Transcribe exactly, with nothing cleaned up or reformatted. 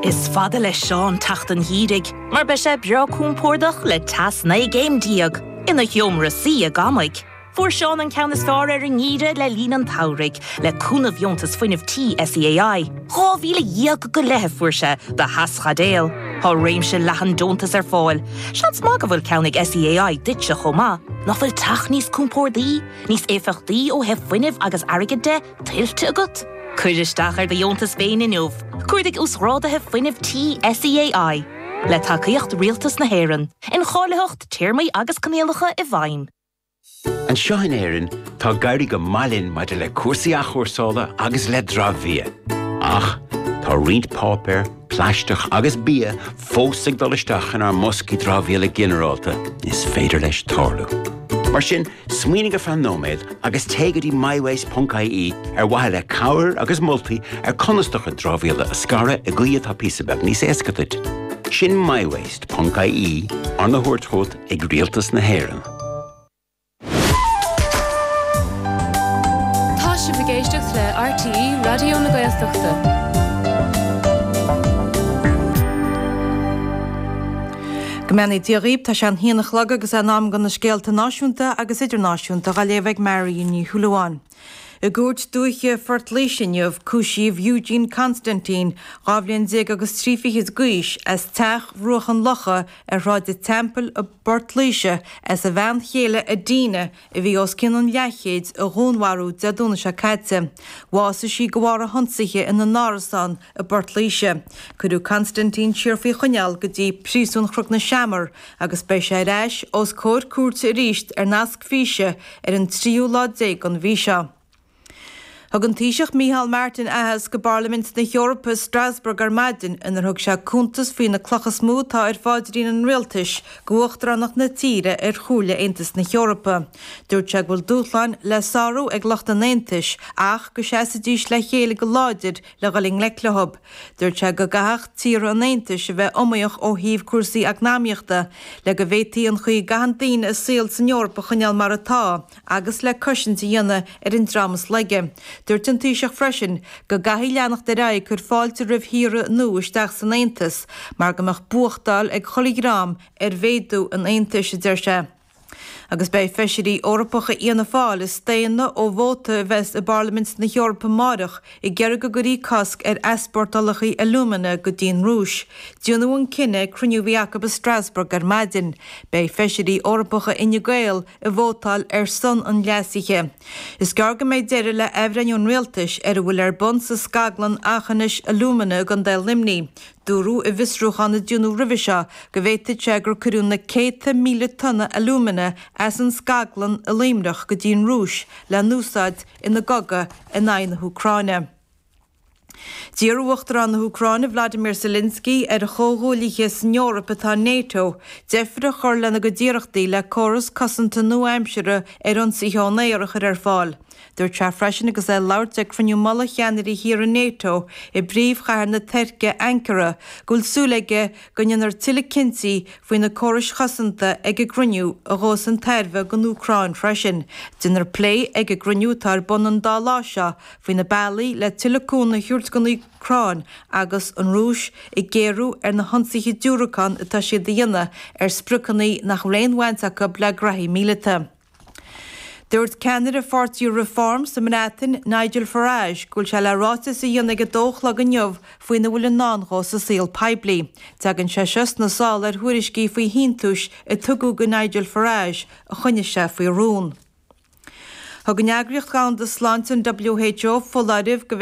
Is fada le Seán teacht an gheimhridh, mar beidh sé breá compordach le teas naoi gcéim déag ina sheomra suí i gCamaigh. Fuair Seán an ceann is fearr ar an ngeimhreadh le linn an tsamhraidh le cúnamh dheontas fuinnimh tí SEAI. Dhá mhíle dhéag go leith fuair sé do theaschaidéal. Tá réimse leathan deontas ar fáil. Seans maith go bhfuil ceann ag SEAI duitse chomh maith, nach bhfuil teach níos compordaí, níos éifeachtaí ó thaobh fuinnimh agus airgid de tuillte agat? Cuir isteach ar do dheontas féin inniu, Cuardaigh uasghráduithe fuinnimh tí SEAI. Le tacaíocht Rialtas na hÉireann, incháilitheacht téarmaí agus coinníollacha i bhfeidhm. Anseo in Éirinn tá ag éirí go maith linn maidir le cúrsaí athchúrsála agus le dramhbhia. Ach tá roinnt páipéar, plaisteach agus bia fós ag dul isteach inár mboscaí dramhaíola ginearálta is féidir leis tarlú. Mar sin, smaoinigh ar feadh nóiméad agus téigh go dtí mywaste.ie ar mhaithe le cabhair agus moltaí ar conas do chuid dramhaíola a scaradh i gcaoi atá píosa beag níos éasca duit. Sin mywaste.ie arna thabhairt chugat ag Rialtas na hÉireann. Tá sibh ag éisteacht le RTÉ Raidió na Gaeltachta. Go mbeannaí Dia dhaoibh, tá sé an haon a chlog agus in am do na scéalta náisiúnta agus idirnáisiúnta á léamh ag Mary Ní Shúilleabháin. I gcúirt dúiche Phort Laoise inniu, cúisíodh Eugene Constantine, dhá bhliain déag agus trí fichid d'aois, as teach Bhruach an Locha ar Shráid an Teampaill i bPort Laoise as a bhean chéile Adina, a bhí os cionn an leathchéid, a dhúnmharú Dé Domhnaigh seo caite. Bhásaigh sí de bharr a hionsaithe ina n-árasán i bPort Laoise. Cuireadh Constantine siar faoi choinneáil go dtí Príosún Chnoc na Seamar agus beidh sé ar ais os comhair cúirte arís ar nasc físe ar an tríú lá déag den mhí seo. Thug an Taoiseach Micheál Martin aitheasc i bParlaimint na hEorpa i Strasbourg ar maidin inar thug sé cuntas faoi na clocha is mó atá ar pháidrín an rialtais d'uachtaránacht na tíre ar Chomhairle Aontas na hEorpa. Dúirt sé go bhfuil dúshláin le sárú ag lucht an Aontais ach go seasfaidís le chéile go láidir le dhul i ngleic leo. Dúirt sé go gcaithfeadh tíortha an Aontais a bheith iomaíoch ó thaobh cúrsaí eacnamaíochta le go bhféadfaí an chaoi a gcaitheann daoine a saol san Eoraip a choinneáil mar atá agus le cosaint a dhéanamh ar an dream is laige. Dúirt an Taoiseach freisin go gcaithfí leanacht ar aghaidh ag cur fáilte roimh thíortha nua isteach san Aontas mar go mbeadh buachtáil ag chuile dhream ar mhéadú an Aontais, a deir sé. Agus beidh feisirí Eorpacha Fhianna Fáil ag staonadh ó vóta a bheas i bParlaimint na hEorpa amárach ag iarraidh go gcuirfí cosc ar easpórtálacha alúmana go dtí an Rúis. Déanadh an cinneadh ag cruinniú a bhí acu i Strasbourg ar maidin. Beidh feisirí Eorpacha Fhine Gael ag vótáil ar son an leasaithe. Is gearr go mbeidh deireadh le athbhreithniú an rialtais ar a bhfuil ar bun sa scaglann Aughinish Alumina i gContae Luimnigh. Dúradh i bhfiosrúchán a déanadh roimhe seo go bhféadfadh sé gur cuireadh na céadta míle tonna alúmana as an scaglann i Luimneach go dtí an Rúis le n-úsáid ina gcogadh in aghaidh na hÚcráine. D'iarr Uachtarán na hÚcráine Vladimir Zelensky ar a chomhghuaillithe san Eoraip atá in NATO deifir a chur lena gcuid iarrachtaí le córas cosanta nua-aimseartha ar ionsaithe ón aer a chur ar fáil. Dúirt sé freisin agus é ag labhairt ag cruinniú mullaigh cheannairí thíortha NATO i bpríomhchathair na Tuirce, Ankara, go bhfuil súil aige go ndéanfar tuilleadh cinntí faoi na córais chosanta ag an gcruinniú a ghabhfas chun tairbhe don Úcráin freisin. Déanfar plé ag an gcruinniú atá ar bun an dá lá seo faoi na bealaí le tuilleadh cúnamh a thabhairt don Úcráin agus an Rúis ag géarú ar na hionsaithe diúracán atá siad a dhéanamh ar spriocanna nach bhfuil aon bhaint acu le graithí míleata. Dúirt ceannaire pháirtí Reform sa mBreatain, Nigel Farage, go bhfuil sé le ráiteas a dhéanamh ag a dó a chlog inniu faoina bhfuil i ndán dhó sa saol poiblí. Tagann sé seo sna sála ar thuairiscí faoi shíntiúis a tugadh go Nigel Farage a choinnigh sé faoi rún. Thug an Eagraíocht Dhomhanda Sláinte, an WHO, foláireamh go